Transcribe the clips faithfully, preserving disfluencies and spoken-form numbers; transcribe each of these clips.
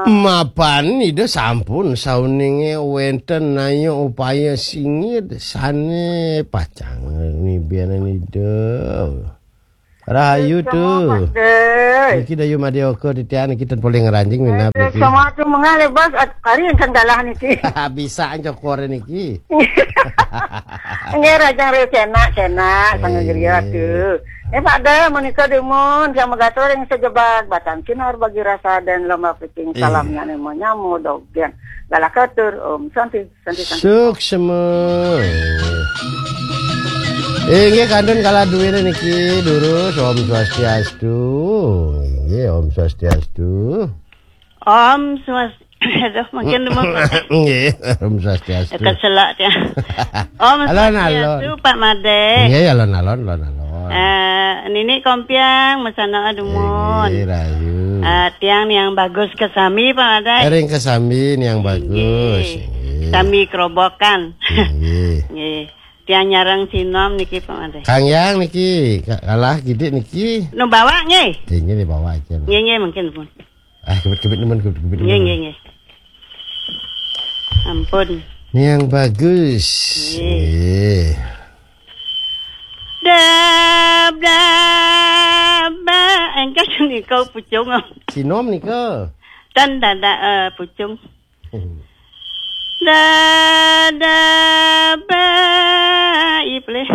Mapan Ida sampun sauninge wenten naya upaya singit sane pacang nibianan Ida. Rahayu tu. Semua, Pak Dek. Niki Dayu Madya Oka titiang niki ten polih ngranjing minab Eh, niki. Sama tu mengalih bos at- hari yang dalah niki. Bisa cokor niki. Nggih, Rajang Ril Cenak, Cenak, Sang Eh. Griya tu. Eh, Pak Dek, menika dumun, yang megatur yang sejebak, batang kinar bagi rasa dan lomba picing, Eh. Salamnya nemo nyamu, dogen. Galah katur, Om Santi, Santi, Santi. Suksma. Eh, nggih, kantun kalah duwene niki, durus, Om Swastiastu. Nggih, Om Swastiastu. Om Swastiastu. Aduh, mungkin dulu. Nggih, Om Swastiastu. Keselak dia. Om Alon-alon. Swastiastu, Pak Made. Nggih, alon-alon, alon-alon. Eh, Nini Kompiang, mesana dumun. Nggih, rahayu. Eh, tiang yang bagus kesami, Pak Made. Ring kesami yang bagus. Nggih. Nggih. Sami kerobokan. Nggih. Nggih. Tiang nyareng sinom niki, Pak Made. Kang Yang niki, ka- kalah gidik niki. Nu bawa nggih. Nggih, nggih, bawa aja. Nggih, nggih, mungkin pun. Ah, kebit-kebit nemen, kebit-kebit Nggih, nemen. Nggih, nggih. Ampun. Ini yang bagus. Nggih. Nggih. Dab, dab, ba. Engkas nika pucung. Sinom nika. Tan dada, eh, pucung. Dada, ba. Ih, pelih.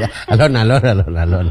Ya, alon, alon, alon, alon.